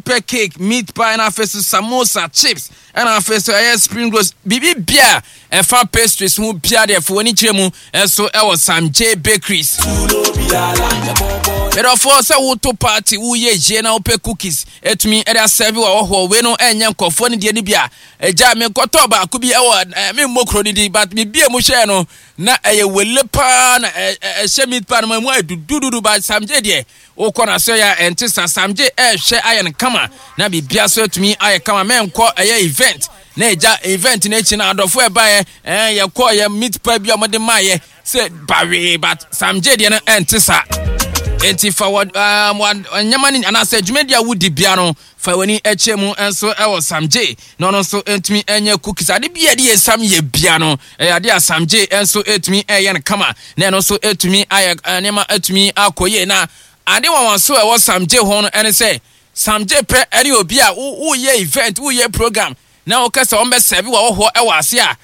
Pɛ cake, meat pie na afei so samosa, chips ɛna afei so ɛyɛ spring rolls. Biribi bia ɛfa pastries ho bia deɛ fo w'ani kyerɛ mu ɛso ɛwɔ Sam J Bakeries. Medɔfoɔ sɛ woto party woyɛ yie na wopɛ cookies ɛtumi ɛde asɛve wɔ hɔhoɔ wei no ɛnyɛ nkɔfoɔ no deɛ no bi a ɛgya mekɔtɔɔ baako bi ɛwɔ memmɔ kuro no din but mebie mu hwɛɛ no na ɛyɛ wele paa na ɛhyɛ meat pie no ma mu ayɛ dudududu but Sam J deɛ Wokɔ n'asɔre a ɛnte saa. Samgye ɛrehwɛ ayɛ no kama na biribia so atumi ayɛ kama. Mɛnkɔ ɛyɛ event na ɛgya event no akyi no adɔfo ɛbaeɛ ɛɛ yɛkɔɔ yɛ meat pie bi a wɔde maayɛ sɛ bawee but Samgye deɛ no ɛnte saa. Enti fa wɔ ɛɛ nneɛma no anaasɛ dwumadi a wodi bia no fa w'ani kyerɛ mu nso wɔ Samgye na ɔno nso ntumi nyɛ cookies. Ade bi a ɛde yɛ sam yɛ bia no ɛyɛ ade a Samgye nso tumi yɛ no kama na ɛno nso tumi ayɛ nneɛma atumi akɔ yie. Na ade nwanwaso a ɛwɔ Samgye ho no ɛne sɛ Samgye pɛ ɛne obi a woyɛ event woyɛ program na wokɛ sɛ wɔn bɛ sɛbi wɔ hɔ ɛwɔ ase a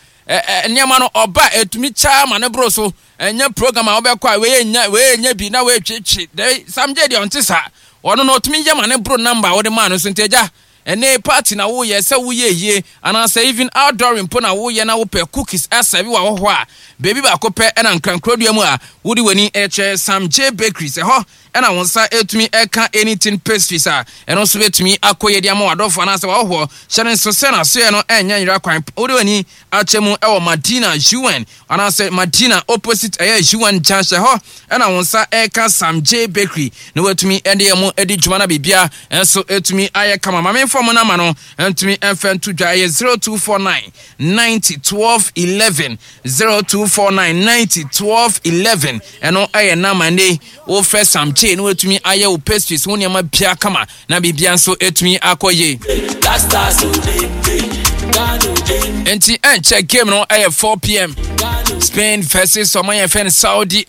nneɛma no ɔba ɛtumi kyaa ma ne boro so. Ɛnyɛ program a wobɛkɔ a wei nya wei nya bi na wei twetwe. Dɛ Samgye deɛ ɔnte saa. Ɔno no ɔtumi yɛ ma ne boro number a wode maa no so nti agya ɛnɛ party na woyɛ sɛ woyɛ yie anaasɛ even outdooring mpo na woyɛ na wopɛ cookies asɛve wɔ ahɔhoɔ a baabi baako pɛ ɛna nkrankurodua mu a wode w'ani kyerɛ Sam J Bakeries ɛhɔ ɛna wo nsa ɛtumi ɛka anything pastries a ɛno nso bɛtumi akɔ yɛ de ama w'adɔfo anaasɛ w'ahɔhoɔ hyɛ no nso sɛ n'asoɛ no ɛnyɛ nyera kwan wode w'ani akyɛ mu ɛwɔ Madina UN anaasɛ Madina opposite ɛyɛ UN junction hɔ ɛna wo nsa ɛka Sam J Bakery na watumi ɛde ɛmo ɛdi dwuma na biribia ɛnso ɛtumi ayɛ kama ma memfa mo nama no ɛntumi ɛmfɛ nto dwa ɛyɛ 0249 90 12 11 0249 90 12 11 ɛno ɛyɛ nama ne wofrɛ Sam J na watumi ayɛ wo pastries ho nneɛma bia kama na biribia nso ɛtumi akɔ yie. Nti ɛnkyɛ game no ɛyɛ 4pm Spain versus ɔman yɛfɛ no Saudi.